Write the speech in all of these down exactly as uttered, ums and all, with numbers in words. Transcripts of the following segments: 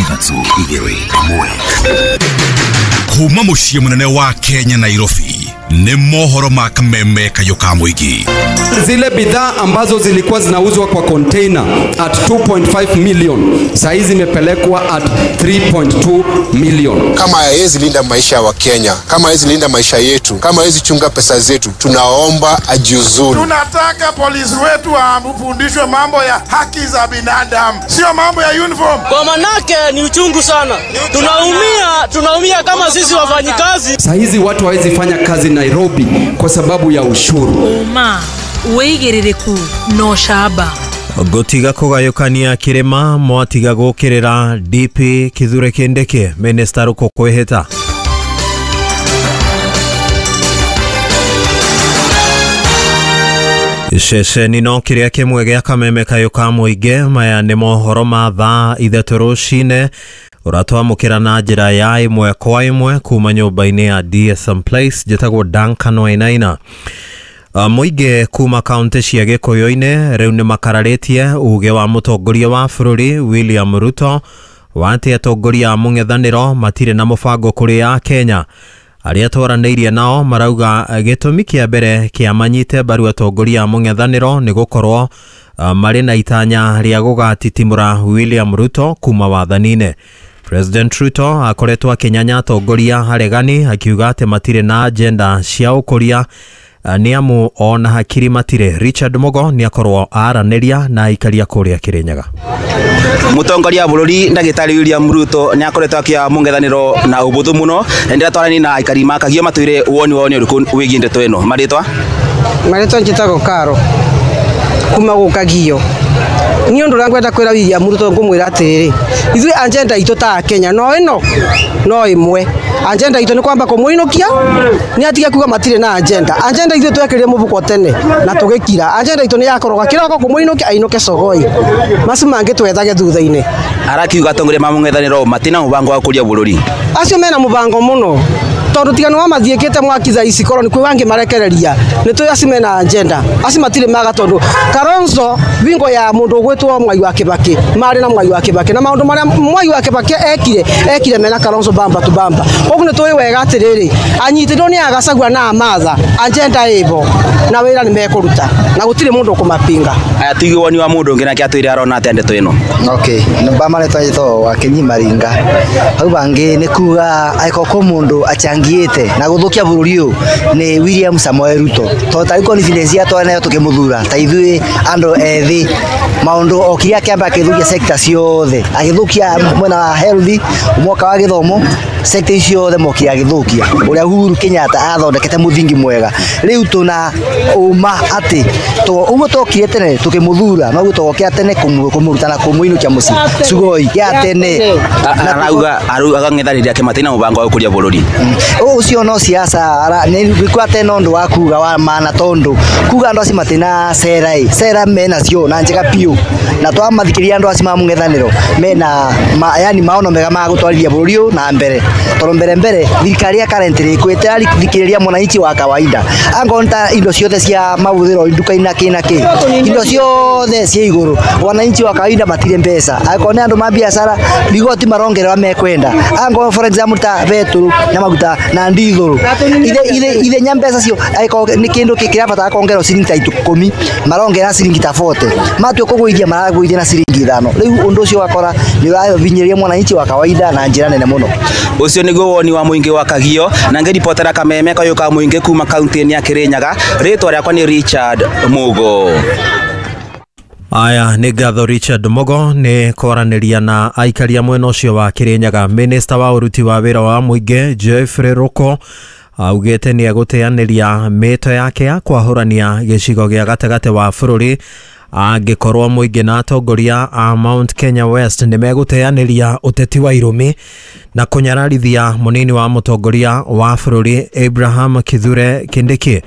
Ithatũ, igĩrĩ, ĩmwe. Kuma mũciĩ mũnene wa Kenya, Nairobi, nĩ mohoro ma Kameme Kayũ ka Mũingĩ. Zile bidhaa ambazo zilikuwa zinauzwa kwa container at two point five million, saa hizi zimepelekwa at three point two million. Kama hawezi linda maisha ya Wakenya, kama hawezi linda maisha yetu, kama hawezi chunga pesa zetu, tunaomba ajiuzulu. Tunataka polisi wetu wafundishwe mambo ya haki za binadamu, sio mambo ya uniform. Kwa manake ni uchungu sana, tunaumia, tunaumia kama sisi wafanyikazi. Saa hizi watu hawezi fanya kazi Nairobi kwa sababu ya ushuru. Ũma, wĩigĩrĩrĩku na ũcamba. Ngũtiga kũgayũkania kĩrĩma mwatiga gũkĩrĩra D P Kithure Kindiki, Minister Ruku kwĩhĩta. Ceceni no kĩrĩa kĩmwe gĩa Kameme Kayũ ka Mũingĩ. Maya nĩ mohoro ma thaa ithatũ rũcinĩ ũratwamũkĩra na njĩra ya ĩmwe kwa ĩmwe kuma nyũmba-inĩ ya D S M Place. Njĩtagwo Duncan Wainaina. Uh, mũingĩ kuma kaunti cia Gĩkũyũ-inĩ rĩu nĩ makararĩtie uge wa mũtongoria wa bũrũri William Ruto wa atĩ atongoria a mũng'ethanĩro matirĩ na mũbango kũrĩ a Kenya. Arĩa twaranĩirie nao marauga gĩtũmi kĩa mbere kĩa manyite mbaru atongoria a mũng'ethanĩro nĩ gũkorwo uh, marĩ na itanya rĩa gũgatitimũra William Ruto kuma wathani-inĩ. President Ruto akoretwo akĩnyanya atongoria aregani akiuga atĩ matirĩ na agenda cia ũkũria uh, nĩ amu ona hakiri matirĩ. Richard Mugo nĩ akorwo aranĩria na aikaria kũrĩa Kĩrĩnyaga. Mutongoria wa bururi ndagitari William Ruto ni akoretwo akia mungethaniro na ubuthu muno, na ndiratwarani na aikari makagio matwire woni wao ni uriku wigie ndeto ino. Maritwa? Marĩtwa njĩtagwo Karo kuma gũkagio. Niĩ ũndũ ũrĩa ngwenda kwĩra William Ruto, ngũmwĩra atĩrĩrĩ, ithuĩ agenda itũ ta Kenya no ĩno no ĩmwe. Agenda itũ nĩ kwamba kũmũinũkia nĩ atige kuga matirĩ na agenda. Agenda ithuĩ twekĩrire mũbuko tene na tũgĩkira. Agenda itũ nĩ yakoroga kĩroko kũmũinũkia ainũke cogoi, macio mangĩ twethage thutha-inĩ. Arakiuga atongoria ma mungethaniro matina mubango wa kuria bururi. Acio mena mũbango mũno, tondũ tiga nĩ wamathiĩkĩte mwaki thaa ici korwo nĩ kwĩ wangĩ marekereria. Nĩ tũĩ acio mena agenda, acio matirĩ maga, tondũ Kalonzo bingo ya mũndũ ũgwĩtwo Mwai wa Kĩbakĩ marĩ na Mwai wa Kĩbakĩ, na maũndũ marĩa Mwai wa Kĩbakĩ ekire ekire mena Kalonzo bamba tu bamba. Koguo nĩ tũĩ wega atĩrĩrĩ, anyitĩrwo nĩ Agacagua na Amatha, agenda ĩbo na wĩra nĩ mekũruta na gũtirĩ mũndũ ũkũmapinga. Aya, tuige woni wa mundu ungi nake atwire arona atia ndeto ino. Okay, namba marĩtwa njĩtagwo Wakinyi Maringa. Hau bangĩ nĩ kuga angĩkorwo kwĩ mũndũ achangiĩte na gũthũkia bũrũri ũyũ nĩ William Samoei Ruto, tondũ tarĩu confidence ya twanayo tũkĩmũthura ta ithuĩ andũ ethĩ, maũndũ okire akĩamba akĩthũkia sector ciothe, agĩthũkia mwena wa health, mwaka wa gĩthomo, sector icio ciothe mokire agĩthũkia ũrĩa Uhuru Kenyatta athondekete mũthingi mwega. Rĩu tũna ũma atĩ ũguo twokire tene tũkĩmũthura noguo tũgokĩra tene kũmũruta na kũmũinũkia mũciĩ Sugoi ya tene. Arauga arauga ake matina mubango wa gukuria bururi. Ũcio no siasa nĩ tene ũndũ wa kuga wa maana, tondũ kuga andũ acio matina cera ĩ cera menacio na njega biũ, na twamathikĩria andũ acio ma mũng'ethanĩro mena ma, yani maono mega ma gũtwarithia bũrũri ũyũ na mbere, tondũ mbere mbere thirikari ya currently ĩkwĩte thikĩrĩria mwananchi wa kawaida. Angorwo ta indo ciothe cia mahũthĩro nduka-inĩ na kĩ na kĩ, indo ciothe ciĩ igũrũ, wananchi wa kawaida matirĩ mbeca. Angorwo nĩ andũ ma biacara, rigoti marongerera mekwenda. Angorwo for example ta betũrũ na maguta na ndithũrũ, ithenya mbeca cio, angĩkorwo nĩ kĩndũ kĩrabatara kuongererwo ciringi ta ikũmi, marongerera ciringi ta mĩrongo ĩna, matua kũgũithia maragũithia na ciringi ithano. Rĩu ũndũ ũcio ũgakora nĩ ũrahinyĩrĩria mwananchi wa kawaida na njĩra nene mũno. Ucio niguo woni wa muingi wa Kagio, na ngiripotera Kameme Kayũ ka Muingi kuma kaunti-inĩ ya Kirinyaga, ritwa riakwa ni Richard Mugo. Aya, nĩ ngatho Richard Mugo nĩ kwaranĩria na aikaria mwena ũcio wa Kirinyaga. Minista wa ũruti wa wĩra wa mũingĩ Geoffrey Ruku augĩte nĩ egũteanĩria mĩto yake ya kwahũrania gĩcigo gĩa gatagatĩ wa bũrũri angĩkorwo mũingĩ na atongoria a Mount Kenya West nĩ megũteanĩria ũteti wa irũmi na kũnyararithia mũnini wa mũtongoria wa bũrũri Abraham Kithure Kindiki.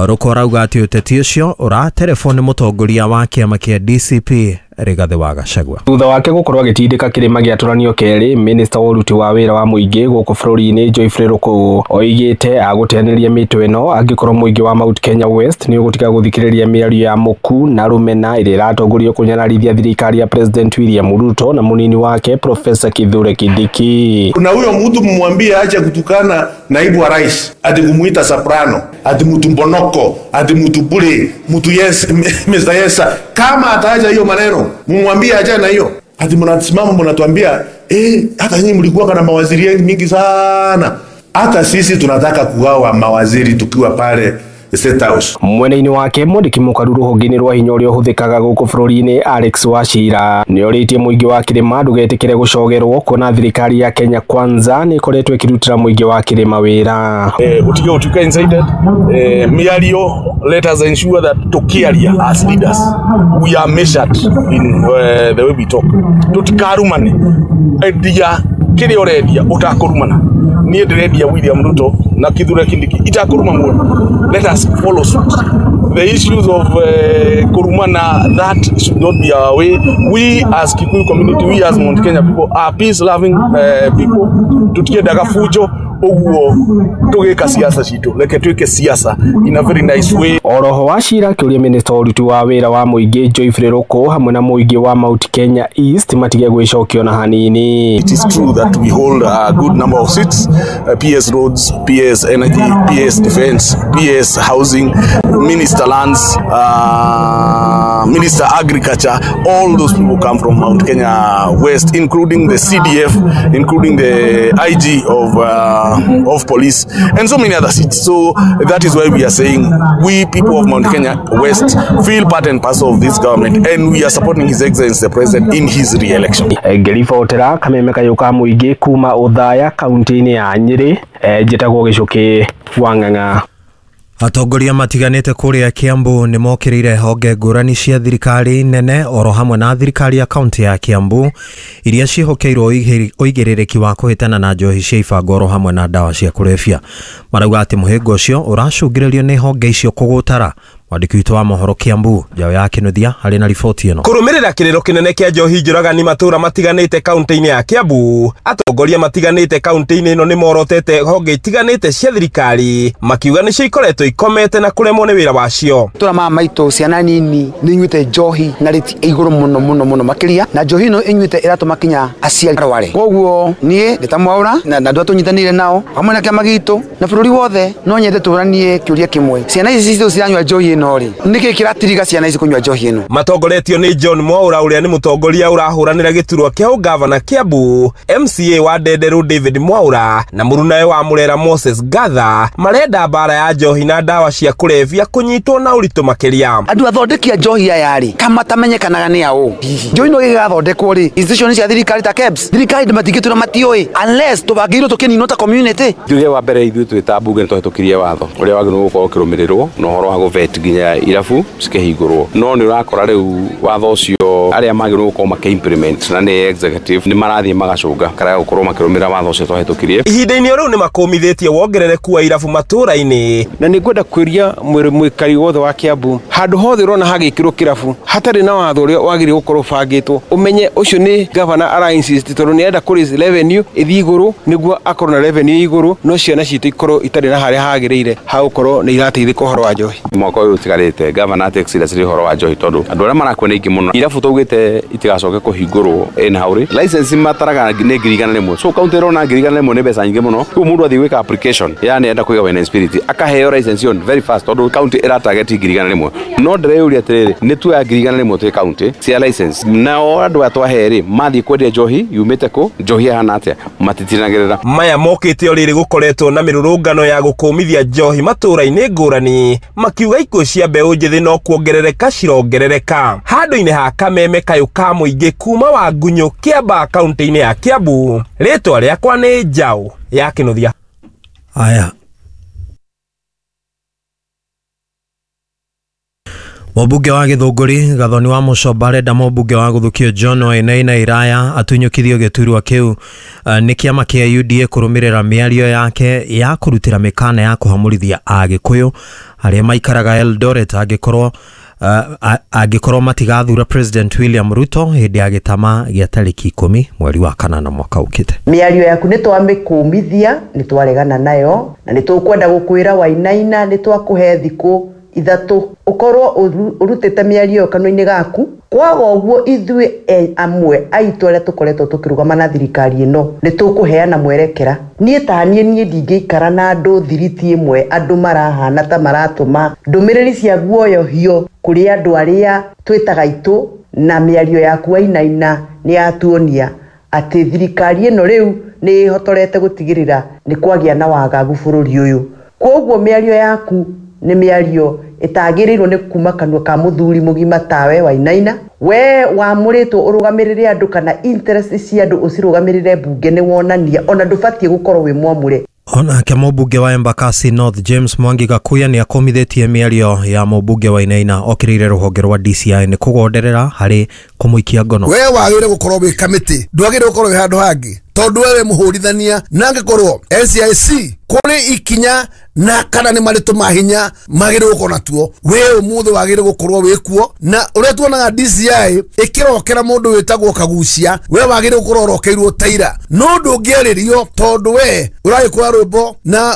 Ruku arauga atĩ ũteti ũcio ũraterebwo nĩ mũtongoria wa kĩama kĩa D C P Rigathi wa Gachagua. Thutha wake gukorwo agitindika kirima giaturanio keri, minista wa uruti wa wira wa muingi guku bururi-ini Geoffrey Ruku oigite aguteaniria mitwe ino angikorwo muingi wa Mount Kenya West ni ugutiga guthikiriria miario ya muku na rumena iria iratongorio kunyararithia thirikari ya President William Ruto na munini wake Professor Kithure Kindiki. Na huyo mtu mumwambie aache kutukana naibu wa rais, ati kumuita soprano, ati mtu mbonoko, ati mtu bure, mtu yes, Mister Yesa. Kama ataacha hiyo maneno, mumwambie acha na hiyo. Ati mnasimama mnatuambia, eh, hata nyinyi mlikuwa na mawaziri mingi sana. Hata sisi tunataka kugawa mawaziri tukiwa pale State House. Mwena-inĩ wake mwandĩki mũkaru rũhonge-inĩ rwa hinya ũrĩa ũhũthĩkaga gũkũ bũrũri-inĩ Alex Wachira nĩorĩtie mũingĩ wa kĩrĩma ndũgetĩkĩre gũcogerwo kuona thirikari ya Kenya Kwanza nĩ ĩkoretwo ĩkĩrutĩra mũingĩ wa kĩrĩma wĩra. Eh, utige utuke incited eh, miario, let us ensure that tukiaria as leaders we are measured in uh, the way we talk. Tutikarumane endia kĩrĩa ũrendia ũtakũrumana. Niĩ ndĩrendia William Ruto na Kithure Kindiki itakuruma mũno. Let us follow suit. The issues of uh, kurumana, that should not be our way. We as Kikuyu community, we as Mount Kenya people are peace loving uh, people. Tutiendaga fujo uguo tugika siasa citu, reke twike siasa in a very nice way. Oroho Wachira akiuria minista wa uruti wa wira wa muingi Geoffrey Ruku hamwe na muingi wa Mount Kenya East matige gwicokio na hanini. It is true that we hold a good number of seats, uh, P S Roads, P S Energy, P S Defense, P S Housing, Minister Lands, uh, Minister Agriculture. All those people come from Mount Kenya West, including the C D F, including the I G of uh, of police, and so many other seats. So that is why we are saying we people of Mount Kenya West feel part and parcel of this government, and we are supporting His Excellency the President in his re-election. Ngĩribotera Kameme Kayũ ka Mũingĩ kuma Othaya kaunti-inĩ ya Nyĩrĩ, njĩtagwo Gĩcũkĩ wa Ng'ang'a. Atongoria matiganĩte kũrĩa Kiambu nĩ mokĩrĩire honge ngũrani cia thirikari nene oro hamwe na thirikari ya kaunti ya Kiambu iria ciĩhokeirwo ũigĩrĩrĩki wa kũhĩtana na njohi cia ibango oro hamwe na ndawa cia kũrebia. Marauga atĩ mũhĩnga ũcio ũracũngĩrĩrio nĩ honge icio kũgũtara. Mwandĩki witũ wa mohoro Kiambu Njaũ ya Kĩnuthia harĩ na riboti ĩno. Kũrũmĩrĩra kĩrĩro kĩnene kĩa njohi njũragani matũra matiganĩte kaunti-inĩ ya Kiambu, atongoria matiganĩte kaunti-inĩ ĩno nĩ morotete honge itiganĩte cia thirikari makiuga nĩcio ikoretwo ikomete na kũremwo nĩ wĩra wacio. Tũra mama maitũ ciana nini nĩ inyuĩte njohi na rĩti igũrũ mũno mũno mũno makĩria, na njohi ĩno inyuĩte ĩratũma kinya aciari arware. Koguo niĩ ndĩ ta Mwaũra na andũ arĩa tũnyitanĩire nao hamwe na kĩama gitũ na bũrũri wothe no nyende tũranie kĩũria kĩmwe, ciana ici citũ ciranyua njohi ĩno rĩ, nĩkĩ kĩratiriga ciana ici kũnyua njohi ĩno? Matongoretio nĩ John Mwaũra ũrĩa nĩ mũtongoria ũrahũranĩra gĩturwa kĩa ũgavana Kiambu, M C A wa Ndenderu David Mwaũra na mũrunawe wa Murera Moses Gatha marenda mbara ya njohi na ndawa cia kũrebia kũnyitwo na ũritũ makĩria. Andũ athondeki a njohi aya rĩ, kama matamenyekanaga nĩ aũ, njohi no ĩgathondekwo rĩ, institution cia thirikari ta KEBS, thirikari matingĩtwĩra matiũĩ unless tũbangĩirwo tũkĩninwo ta community. Njuge wa mbere ithuĩ twĩ ta mbunge nĩtwahĩtũkirie watho ũrĩa wagĩrĩirwo gũkorwo ũkĩrũmĩrĩrwo na ũhoro wa gũvet nginya irabu cikĩhingũrwo, no nĩ ũrakora rĩu watho ũcio arĩa magĩrĩirwo gũkorwo makĩ-implement na nĩ executive nĩ marathiĩ magacũnga karega gũkorwo makĩrũmĩrĩra watho ũcio twahĩtũkirie. Ihinda-inĩ rĩu nĩ makũmithĩtie wongerereku wa irabu matũra-inĩ. Na nĩ ngwenda kwĩria mwĩkari wothe wa Kiambu, handũ hothe ũrona hagĩkĩrwo kĩrabu hatarĩ na watho ũrĩa wagĩrĩirwo gũkorwo ũbangĩtwo, ũmenye ũcio nĩ gavana ara insist tondũ nĩ arenda kũ raise revenue ĩthiĩ igũrũ nĩguo akorwo na revenue igũrũ, no ciana citũ ikorwo itarĩ na harĩa hagĩrĩire ha gũkorwo nĩ irateithĩka ũhoro wa njohi. Mwaka ũyũ ũtigarĩte gavana take seriously ũhoro wa njohi tondũ andũ arĩa marakua nĩ aingĩ mũno. Irabu twaugĩte itigacoke kũhingũrwo in hurry. License mataraga nĩ ngiri igana rĩmwe, so kaunti ĩrona ngiri igana rĩmwe nĩ mbeca nyingĩ mũno. Rĩu mũndũ athiĩ gwĩka application yani enda kũiga wine and spirit akaheo license on very fast tondũ kaunti ĩra target ngiri igana rĩmwe. No ndĩreyũria atĩrĩrĩ, nĩ tuoya ngiri igana rĩmwe twĩ kaunti cia license, nao andũ aya twahe rĩ mathiĩ kwendia njohi yumĩte kũ, njohi ĩhana atĩa, matitinagĩrĩra. Maya mokĩte o rĩrĩ gũkoretwo na mĩrũrũngano ya gũkũmithia njohi matũra-inĩ ngũrani makiuga ikuũ cia mbeũ njĩthĩ no kuongerereka cirongerereka. Handũ-inĩ ha Kameme Kayũ ka Mũingĩ kuma Wangunyũ Kĩambaa kaunti-inĩ ya Kiambu, rĩtwa rĩakwa nĩ Njaũ ya Kĩnuthia. Aya. Mũmbunge wa Gĩthũngũri Gathoni wa Mũcomba arenda mũmbunge wa Gũthukio John Wainaina Iraya atunyũkithio gĩturwa kĩu nĩ kĩama kĩa U D A kũrũmĩrĩra mĩario yake ya kũrutĩra mĩkana ya kũhamũrithia Agĩkũyũ arĩa maikaraga Eldoret angĩkorwo uh, angĩkorwo matigathura President William Ruto hĩndĩ ya gĩtama gĩa tarĩki ikũmi mweri wa kanana mwaka ũkĩte. Mĩario yaku nĩ twamĩkũmithia, nĩ twaregana nayo na nĩ tũkwenda gũkwĩra Wainaina nĩ twakũhe thikũ ithatũ ũkorwo ũrutĩte mĩario kanua-inĩ gaku. Kwaga ũguo ithuĩ amwe aitũ arĩa tũkoretwo tũkĩrũgama na thirikari ĩno nĩ tũkũheana mwerekera. Niĩ ta niĩ niĩ ndingĩikara na andũ thiriti ĩmwe andũ marahana ta maratũma ndũmĩrĩri cia guoyohio kũrĩ andũ arĩa twĩtaga itũ, na mĩario yaku Wainaina nĩ yatuonia atĩ thirikari ĩno rĩu nĩ ĩhotorete gũtigĩrĩra nĩ kwagĩa na wagagu bũrũri ũyũ. Kwoguo mĩario yaku nĩ mĩario ĩtagĩrĩirwo nĩ kuma kanua ka mũthuri mũgima tawe Wainaina. We wamũrĩtwo ũrũgamĩrĩre andũ kana interest cia andũ ũcirũgamĩrĩre mbunge nĩ wonania ona ndũbatiĩ gũkorwo wĩ mwamũre. Onake mũmbunge wa Embakasi North James Mwangi Gakuya nĩ akomithĩtie mĩario ya mũmbunge Wainaina okĩrĩire rũhonge rwa D C I nĩ kũgonderera harĩ kũmũikia ngono. We wagĩrĩire gũkorwo wĩ kamĩtĩ, ndwagĩrĩire gũkorwo wĩ handũ hangĩ tondũ we wĩ mũhũrithania, na angĩkorwo N C I C kũrĩ ikinya na kana nĩ marĩtũ ma hinya magĩrĩirwo gũkorwo natuo, we ũmũthĩ wagĩrĩirwo gũkorwo wĩ kuo. Na ũrĩa tuonaga D C I ĩkĩrokera mũndũ wĩtagwo Kagucia, we wagĩrĩirwo gũkorwo ũrokeirwo taira, no ndũngĩarĩrio tondũ we ũragĩkũra rwĩmbo na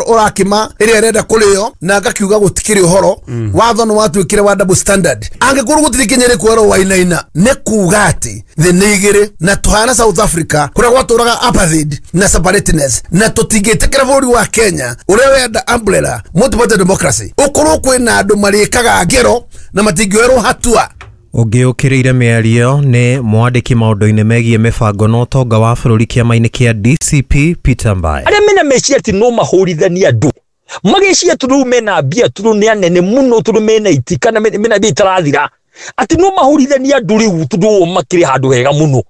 ũrakĩma ĩrĩa ĩrenda kũrĩo na ngakiuga gũtikĩrĩ ũhoro. Watho nĩ watuĩkire wa double standard. Angĩkorwo gũtirĩ ikinya rĩkuoerwo Wainaina nĩ kuga atĩ thĩ nĩ igĩrĩ na tũhana South Africa kũrĩa gwatũraga apartheid na separateness, na tũtingĩtĩkĩra bũrũri wa Kenya ũrĩa wenda umbrella multiparty democracy ũkorwo kwĩna andũ marĩkaga ngero na matingĩoerwo hatua. Ũngĩ ũkĩrĩire mĩario nĩ mwandĩki maũndũ-inĩ megiĩ mĩbango na ũtonga wa bũrũri kĩama-inĩ kĩa D C P Peter Mbae. Arĩa mena meciria atĩ no mahũrithanie andũ magĩciria tondũ mena mbia, tondũ nĩ anene mũno, tondũ mena iti kana mena mbia itarathira, atĩ no mahũrithanie andũ rĩu tondũ o makĩrĩ handũ hega mũno.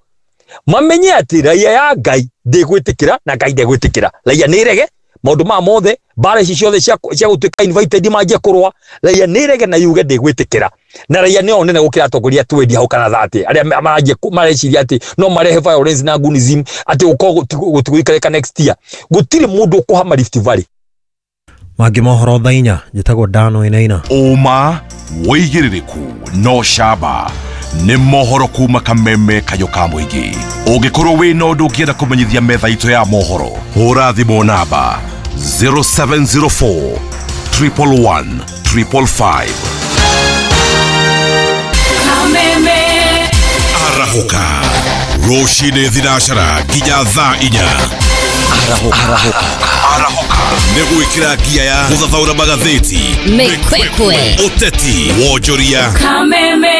Mamenye atĩ raia ya Ngai ndĩgwĩtĩkĩra na Ngai ndegwĩtĩkĩra. Raia nĩ ĩrege maũndũ maya mothe, mbara ici ciothe cia gũtuĩka invited manjie kũrũa, raia nĩ ĩrege na yuge ndĩgwĩtĩkĩra. Na raia nĩo nene gũkĩra atongoria twendi hau kana thate arĩa maranjia mareciria atĩ no marehe violence na gunism atĩ gũkorwo gũtigũikarĩka next year. Gũtirĩ mũndũ ũkũhama Rift Valley. Mangĩ mohoro thaa inya, njĩtagwo Dan Wainaina. Ũma wĩigĩrĩrĩku no camba nĩ mohoro kuma kameme kayo ka mũingĩ. Ũngĩkorwo wĩna ũndũ ũngĩenda kũmenyithia metha itũ ya mohoro, hũra thimũ namba zero seven zero four triple one triple five. Kameme Arahũka rũcinĩ thinacara nginya thaa inya. Arahũka Arahũka nĩ gwĩkĩra ngia ya gũthathaũra magathĩti, mĩkwekwe, ũteti, wonjoria. Kameme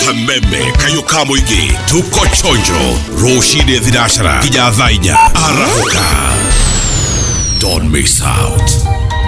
Kameme kayo ka mũingĩ, tuko chonjo rũcinĩ thinacara nginya thaa inya. Arahũka, don't miss out.